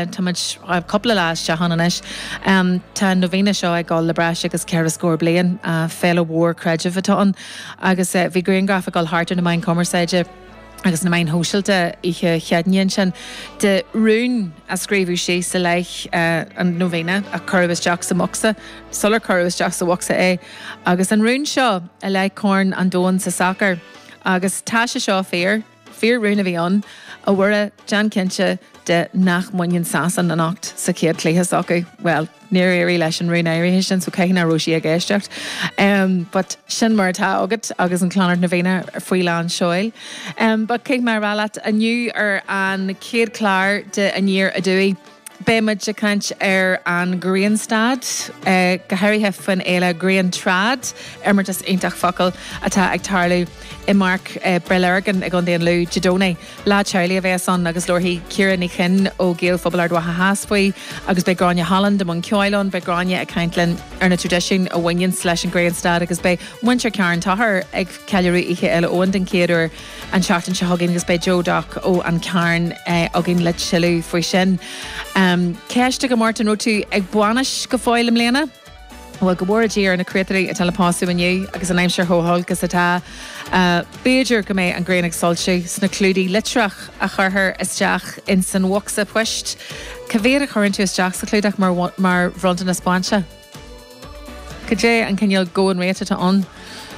Tá muid cúpla lá isteach ann anois. Tá an Novena seo ag dul le breis agus ceithre scór bliain. Féile mhór creidimh atá ann agus bhí grianghraf ag dul thart ar na meáin chumarsáide agus na meáin shóisialta oíche Chéadaoine ansin de rún a scríobhadh síos i leith an Novena a cuireadh isteach sa mbocsa sular cuireadh isteach sa bhocsa é agus an rún seo i leith Corn an Domhain sa sacar agus tá sé seo fíor. Fíor-rún a bhí ann, A Mhuire, déan cinnte de nach mbaineann Sasain anocht sa chéad chluiche s'acu. Bhuel, níor éirigh leis an rún áirithe sin, so caithfidh nach raibh sí ag éisteacht. But sin mar atá agat agus an Clonard Novena faoi lán seoil. But caithfidh mé a rá leat, inniu ar an chéad chlár de Aniar Aduaidh, Beidh muid ag caint ar an ghrianstad, go háirithe faoin fhéile Griantrad, imeartas iontach focal, atá ag tarlú i bPáirc Bhréith Lurgan i gContae an Lú Dé Domhnaigh. Lá teaghlaigh a bheas ann agus labharfaidh Ciara Ní Chuinn ó Ghaelphobal Ard Mhacha Theas faoi agus beidh Gráinne Holland i mbun ceoil ann. Beidh Gráinne ag caint linn ar na traidisiúin a bhaineanns leis an ghrianstad agus beidh muintir Charn Tóchair ag ceiliúradh Oíche Fhéile Eoin den chéad uair. an tseachtain seo chugainn agus beidh Joe Doc ó An Carn againn le tuilleadh faoi sin. Ceist agam ort, an raibh tú ag bainis go fóill i mbliana? Bhuel, go bhfóire Dia ar na créatúirí atá le pósadh inniu agus an aimsir chomh holc is atá, b'fhéidir go mbeidh an ghrian ag soilsiú sna clúdaigh litreach a chuirfear isteach ins an bhocsa poist. Cá mhéad a chuireann tú isteach sa chlúdach mar mar bhronntanas bainse? Cad é an cineál going rate atá ann?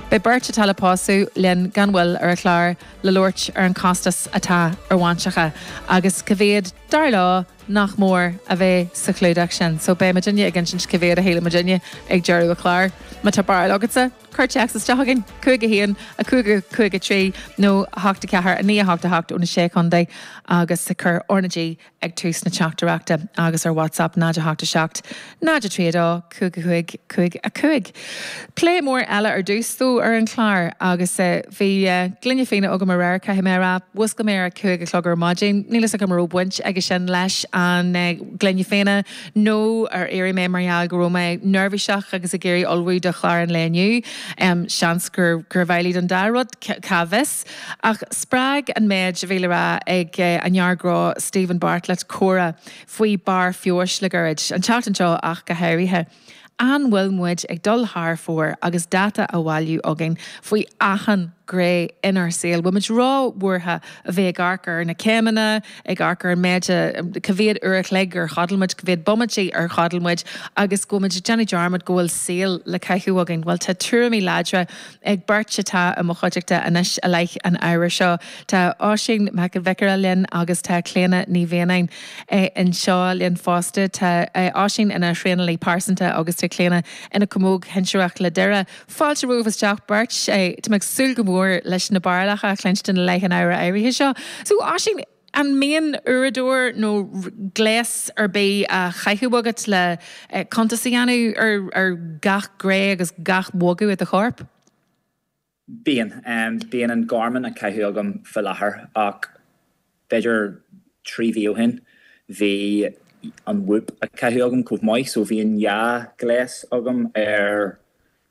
Beidh beirt atá le pósadh linn gan mhoill ar an chlár le labhairt ar an chostas atá ar bhainseacha agus cá mhéad, dar leo, nach mór a bheith sa chlúdach sin. So beidh muidinne ag insint cá mhéad a shíleann muidinne ag deireadh an chláir. Má tá barúil agatsa, cuir téacs isteach chugainn, 5 1, 5 5 3 nó 8 4 9 8 8 ó na Sé Chontae agus cuir R na G ag tús na teachtaireachta agus ar WhatsApp 0 8 7 0 3 2 5 5 5 5. Plé mór eile ar dtús dó ar an chlár agus bhí gloine fíona agam aréir, caithfidh mé a rá. Mhúscail mé ar a 5 a chlog ar maidin. Níl fhios agam an raibh baint aige sin leis an ngloine fíona nó ar éirigh mé mar gheall go raibh mé neirbhíseach agus ag iarraidh ullmhú do chlár an lae inniu. Seans gurbh amhlaidh don dá rud, cá bhfios? Ach spreag an méid a bhí le rá ag an fhear gnó Steven Bartlett comhrá faoi barr feabhais le gairid, an tseachtain seo ach go háirithe. An bhfuil muid ag dul thar fóir agus data á bhailiú againn faoi achan ghné inár saol? Bhfuil muid ró-bhuartha a bheith ag amharc ar na céimeanna, ag amharc ar an méid, cá mhéad uair a chloig ar chodail muid, cá mhéad bomaite ar chodail muid agus go bhfuil muid ag déanamh dearmad go bhfuil saol le caitheamh againn? Bhuel, tá tuairimí láidre ag beirt atá i mo chuideachta anois i leith an ábhair seo. Tá Oisín Mac an Bhiocaire linn agus tá Clíona Ní Mhianáin anseo linn fosta. Tá Oisín ina thraenálaí pearsanta agus tá Clíona ina camóg shinsearach le Doire. Fáilte romhaibh isteach beirt. Tá mé ag súil go mór leis na barúlacha a chluinstin i leith an ábhair áirithe seo. So Oisín, an mbíonn uaireadóir nó gléas ar bith á chaitheamh agat le cuntas a dhéanamh ar gach gné agus gach bogadh i do chorp? Bíonn. Bíonn an Garmin á chaitheamh agam faoi láthair ach b'fhéidir 3 mhí ó shin bhí an Whoop á chaitheamh agam chomh maith so bhí an dhá ghléas agam ar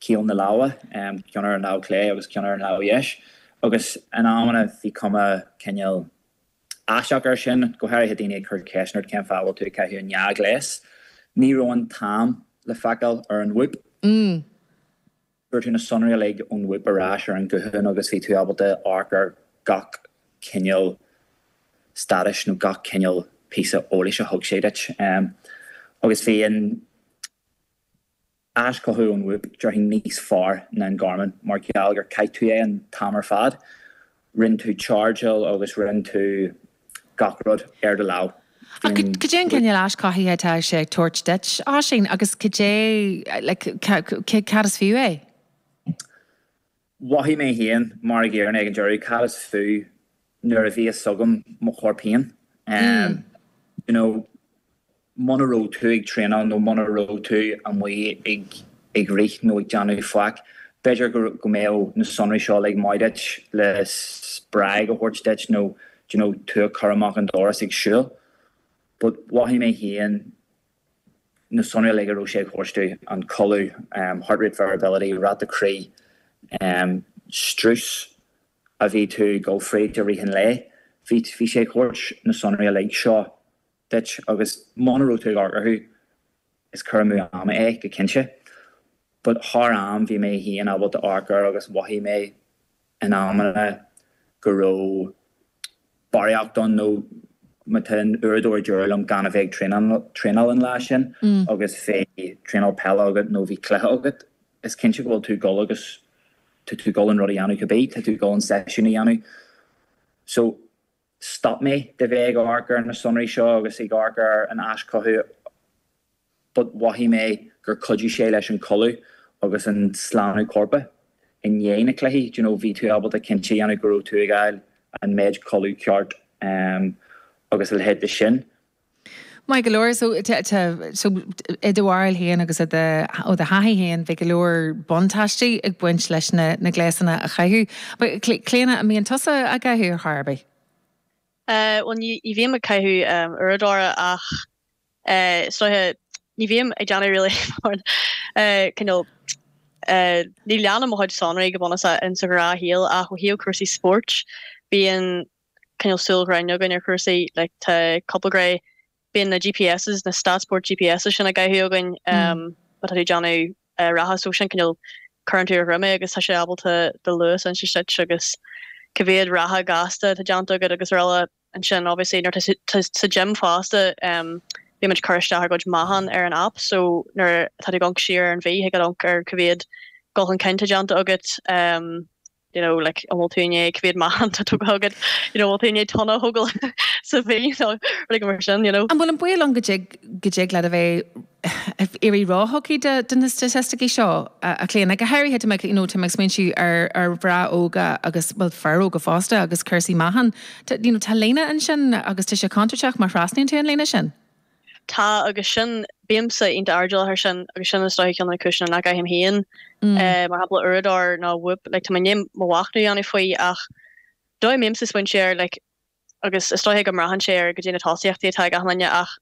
chaol na lámha, ceann ar an lámh chlé agus ceann ar an lámh dheis agus in amanna bhí cuma cineál aisteach air sin, go háirithe daoine ag cur ceisteanna ort cén fáth a bhfuil tú ag caitheamh an dhá ghléas. Ní raibh an t-am le feiceáil ar an Whoop. Fuair tú na sonraí uilig ón Whoop ar ais ar an guthán agus bhí tú ábalta amharc ar gach cineál stádais nó gach cineál píosa eolais a thug sé duit. Agus bhí an aischothú ón Whoop, déarfainn, níos fearr ná an Garmin mar gheall gur chaith tú é an t-am ar fad. Rinne tú chargeáil agus rinne tú gach rud ar do lámh. Ach cad é an cineál aischothaithe atá sé ag tabhairt duit, Oisín, agus cad é, like, cad is fiú é? Mhothaigh mé féin mar an gcéanna ag an deireadh, cad is fiú nuair a bhí fhios agam mo chorp féin? You know, muna raibh tú ag traenáil nó muna raibh tú amuigh ag ag rith nó ag déanamh faic, b'fhéidir go go mbeadh na sonraí seo uilig maith duit le spreag a thabhairt duit nó do you know tú a chur amach an doras ag siúl. But mhothaigh mé féin na sonraí uilig a raibh sé ag thabhairt domh, an codladh, heart rate variability, ráta croí, strus a bhí tú ag dul fríd i rith an lae, bhí, bhí sé ag thabhairt na sonraí uilig seo. duit agus muna raibh tú ag amharc orthu, is cur amú ama é, go cinnte. But thar am bhí mé féin ábalta amharc air agus mhothaigh mé in amanna go raibh barraíocht ann nó má tá an uaireadóir ag deir liom gan a bheith ag traenáil an lá sin agus bhí traenáil peile agat nó bhí cluiche agat, is cinnte go bhfuil tú ag dul agus tá tú ag dul an rud a dhéanamh cibé, tá tú ag dul an seisiún a dhéanamh. So stop mé de bheith ag amharc ar na sonraí seo agus ag amharc ar an aischothú but mhothaigh mé gur chuidigh sé leis an codladh agus an slánú coirp i ndiaidh na cluichí, do you know, bhí tú ábalta cinnte a dhéanamh go raibh tú ag fháil an méid codladh ceart agus a leithéid de sin. Maith go leor, so so i do bharúil féin agus i do ó do thaithí féin bhí go leor buntáistí ag baint leis na na gléasanna a chaitheamh. But Clíona, an mbíonn tusa á gcaitheamh ar chor ar bith? Bhuel ní bhím ag caitheamh uaireadóra ach Is dóiche, ní bhím ag déanamh really mórán cineál, ní leanaim mo chuid sonraí go bunúsach in sa ghnáthshaol ach ó thaobh cúrsaí spóirt, bíonn cineál súil ghrinn againn ar chúrsaí, like tá cúpla gné, bíonn na GPSs, na StatSport GPSs sin á gcaitheamh againn má tá tú ag déanamh reatha so sin cineál cuireann tú ar dhroim é agus tá sé ábalta do luas a insint duit agus cá mhéad reatha gasta atá déanta agat agus araile. Ansin obviously nuair atá tú sa gym fosta bíonn muid ag cur isteach ár gcuid meáchan ar an app so nuair atá tú ag amharc siar ar an mhí thig leat amharc ar cá mhéad dul chun cinn tá déanta agat you know like an bhfuil tú i ndiaidh cá mhéad meáchan tá tógtha agat you know an bhfuil tú i ndiaidh tonna a thógáil sa mhí nó rudaí mar sin you know. An bhfuil an baol ann go dtig go dtig leat a bheith ag éirí róthugtha do na staitisticí seo, a Chlíona. Go háirithe, tá mé, you know, tá mé ag smaointiú ar, ar mhná óga agus, bhuel, fir óga fosta agus cúrsaí meáchain. Tá, you know, tá líne ansin agus tá sé contúirteach má thrasnaíonn tú an líne sin. Tá, agus sin, bímse iontach airdeallach air sin agus sin is dóiche ceann de na cúiseanna nach gcaithim féin, mar shampla, uaireadóir nó Whoop, like, tá mé i ndiaidh mo mhachnamh a dhéanamh faoi ach dóigh a mbímse ag smaointiú air, like, agus is dóiche go mbraitheann sé ar goidé na tosaíochtaí atá ag achan duine ach,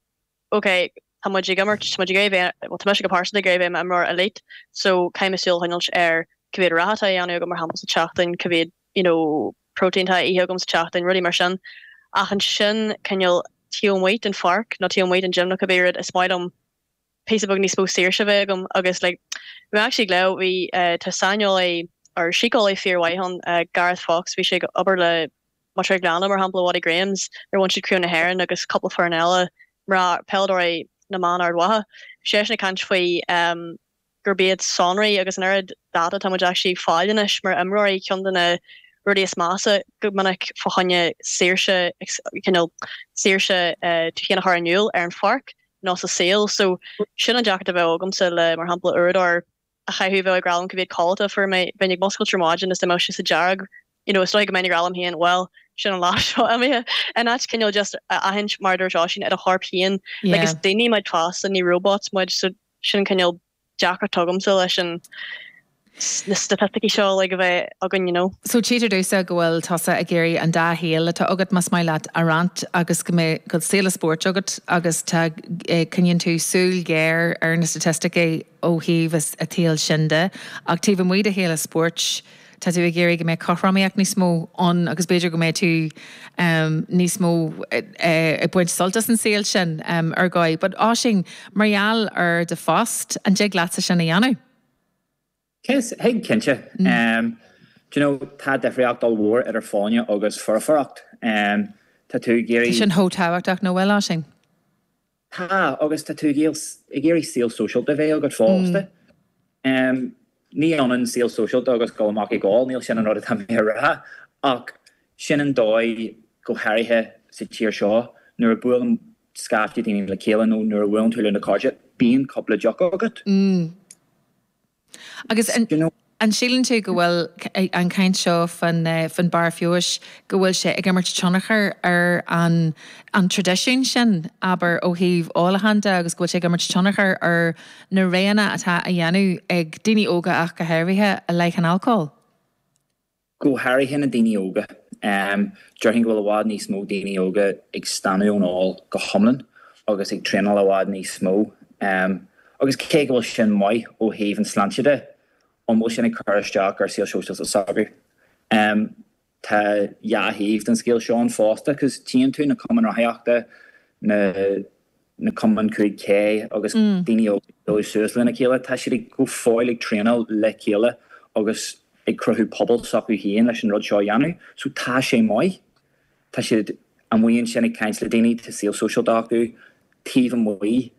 ok, tá muid ag imirt, tá muid ag iarraidh bheith, bhuel tá mise go pearsanta ag iarraidh bheith i m'imreoir elite, so caithfidh mé súil a choinneáilt ar cá mhéad reatha atá á dhéanamh agam mar shampla sa tseachtain, cá mhéad, you know, protein atá á ithe agam sa tseachtain, rudaí mar sin. Ach ansin, cineál taobh amuigh den pháirc nó taobh amuigh den gym nó cibé rud, is maith liom píosa beag níos mó saoirse a bheith agam agus like, bhí mé actually ag léamh, bhí, tá saineolaí or síceolaí fíormhaith ann, Gareth Fox, bhí sé ag obair le Maigh Ghleanna, mar shampla, Watty Grahams, nuair a bhain siad Craobh na hÉireann agus cúpla foireann eile, mná, peileadóirí na mban Ard Mhacha. Bhí seisean ag caint faoi gurb iad sonraí agus an oiread data atá muid actually ag fáil anois mar imreoirí ceann de na rudaí is measa go minic fá choinne saoirse, cineál saoirse tú féin a chur in iúl ar an pháirc nó sa saol. So sin an deacracht a bheadh agamsa le, mar shampla, uaireadóir a chaitheamh bheadh ag rá liom cá mhéad codlata a fuair mé, bheinn ag muscailt ar maidin is dá mbeadh sé sa dearg, you know, is dóigh go mbeinn ag rá liom féin, bhuel, sin an lá seo imithe. In áit cineál just a aithint, mar a dúirt Oisín, i do chorp féin, like is daoine muid fosta, ní robots muid, so sin cineál deacracht agamsa leis an na staitisticí seo like a bheith againn, you know. So tchítear domhsa go bhfuil tusa ag iarraidh an dá shaol atá agat, más maith leat, a roinnt agus go mbeidh go bhfuil saol an spóirt agat agus tá, coinníonn tú súil ghéar ar na staitisticí ó thaobh an tsaoil sin de, ach taobh amuigh de shaol an spóirt, tá tú ag iarraidh go mbeadh cothromaíocht níos mó ann agus b'fhéidir go mbeidh tú níos mó ag baint sult as an saol sin ar dhóigh. But Oisín, mar gheall ar do phost, an dtig leatsa sin a dhéanamh? Thig, cinnte. Do you know, tá difríocht ollmhór idir folláine agus foirfeacht. Tá tú ag Tá iarraidh. sin chomh tábhachtach, nach bhfuil, Oisín? Tá, agus tá tú ag iarraidh saol sóisialta a bheith agat fosta. Ní ionann saol sóisialta agus dul amach ag ól, níl sin an rud atá mé a rá, ach sin an dóigh, go háirithe sa tír seo, nuair a buaileann scaifte daoine le chéile nó nuair a bhuaileann tú le na cairde, bíonn cúpla deoch agat. Agus an síleann tú go bhfuil an chaint seo faoin barr feabhais, go bhfuil sé ag imirt tionchar ar an an traidisiún sin, abair, ó thaobh ólacháin de agus go bhfuil sé ag imirt tionchar ar na roghanna atá á dhéanamh ag daoine óga ach go háirithe i leith an alcóil? Go háirithe na daoine óga. Déarfainn go bhfuil i bhfad níos mó daoine óga ag staonadh ón ól go hiomlán agus ag traenáil i bhfad níos mó. Agus cé go bhfuil sin maith ó thaobh an sláinte de, an bhfuil sin ag cur isteach ar saol sóisialta s'acu? Tá dhá thaobh den scéal seo ann fosta, cos tchíonn tú na cumainn rothaíochta. Na na cumainn 5K agus daoine óga ag dul suas lena chéile, tá siad ag go fóill ag traenáil le chéile agus ag cruthú pobal s'acu féin leis an rud seo a dhéanamh. So tá sé maith. Tá siad amuigh ansin ag caint le daoine, tá saol sóisialta acu taobh amuigh.